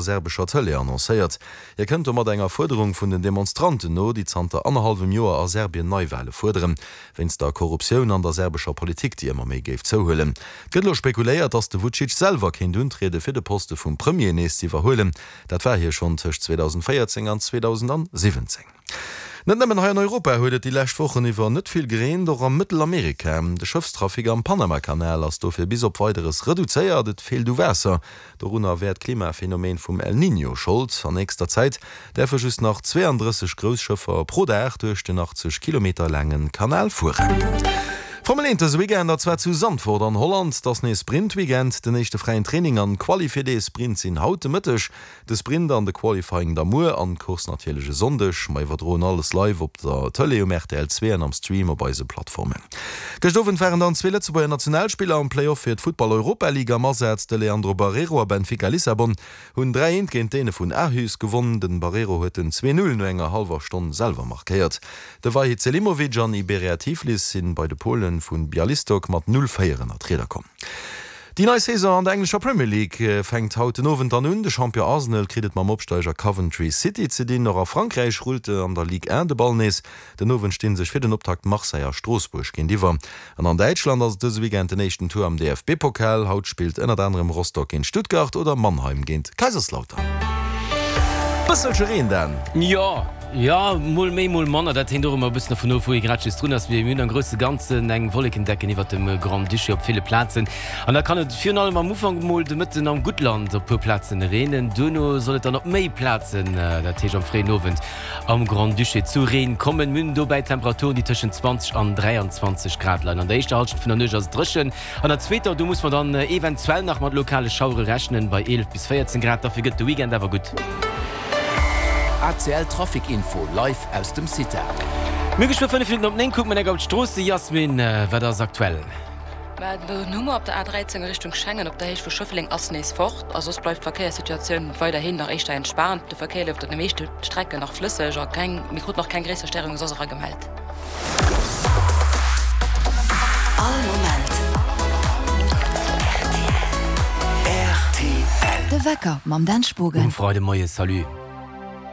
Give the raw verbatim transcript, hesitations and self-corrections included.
serbescher Tëlee annoncéiert. Hie kënnt domat enger Fuerderung vun den Demonstranten no, déi zanter annerhallwem Joer a Serbien Neiwale fuerderen, wéinst der Korruptioun an der serbescher Politik, déi ëmmer méi géif zouhuelen. Et gëtt elo spekuléiert, datt de Vucic selwer kéint untriede fir de Poste vum Premier nees ze iwwerhuelen. Dat war hie schonn tëscht zweedausendvéierzéng an zweedausendsiwwenzéng. Net nëmmen hei an Europa huet et déi lescht Wochen iwwer net vill gereent, och a Mëttelamerika. De Schëffstrafic am Panamakanal ass dofir bis op Weideres reduzéiert. Et feelt u Waasser. Dorunner wär d'Klimaphenomen vum El Niño Schold. An nächster Zäit däerfe just nach zweeandrësseg grouss Schëffer pro Dag duerch den achtzeg Kilometer laange Kanal fueren. Formel eent dëse Weekend, a zwar zu Zandvoort an Holland. Et ass nees Sprint-Weekend. Den éischte fräien Training an d'Quali fir dee Sprint sinn haut de Mëtteg. De Sprint an de Qualifying da muer an d'Course natierlech e Sonndeg. Mer iwwerdroen alles live op der Tëlee, um R T L zwee an am Stream op eise Plattformen. Gëscht Owend waren dann zwee Lëtzebuerger Nationalspiller am Play-Off fir d'Futtball-Europa League am Asaz. De Leandro Barreiro a Benfica Lissabon hunn dräi eent géint d'Däne vun Aarhus gewonn. Den Barreiro huet den zwee Null no enger hallwer Stonn selwer markéiert. De Vahid Selimovic an Iberia Tiflis sinn bei de Polen vun Bialystok mat null véier ënner d'Rieder komm. Déi nei Saison an der englescher Premier League fänkt haut den Owend dann un. De Champion Arsenal kritt et mam Opsteiger Coventry City ze dinn. Och a Frankräich rullt an der Ligue un de Ball nees. Den Owend sti sech fir den Optakt Marseille a Stroossbuerg géintiwwer. An an Däitschland ass et dëse Weekend den éischten Tour am D F B-Pokal. Haut spillt ënnert anerem Rostock géint Stuttgart oder Mannheim géint Kaiserslautern. Bësselche Reen dann. Jo, jo, mol méi, mol manner, dat hänkt och ëmmer e bëssen dovun of, wou ee grad just drun ass. Mir hunn am grousse Ganzen eng Wollekendecken iwwert dem Grand-Duché op ville Plazen an da kann et virun allem am Ufank mol de Mëtten am Guttland op puer Plazen reenen. Duerno soll et dann op méi Plazen, dat heescht am fréien Owend am Grand-Duché zu Reen kommen. Mir hunn dobäi Temperaturen, déi tëschent zwanzeg an dräianzwanzeg Grad leien. An der éischter Hallschent vun der Nuecht ass et dréchen, an der zweeter, do muss mer dann eventuell nach mat lokale Schauere rechnen, bei eelef bis véierzéng Grad. Dofir gëtt de Weekend awer gutt. A C L Trafic Info live aus dem CITA. Mir geschwë fënnef Minutten op néng, kucke mer enk op d'Stroosse. Jasmin, wat ass aktuell? Mä den Hummer op der A dräizéng a Richtung Schengen op der Héicht vu Schëffleng ass nees fort a soss bleift d'Verkéierssituatioun weiderhin nach éischter entspaant. De Verkéier leeft op de meeschte Strecken nach flësseg a keng, mir kruten och keng gréisser Stéierunge soss eragemellt. All Moment R T L. De Wecker mam Dan Spogen. Um Freidemoie, salut.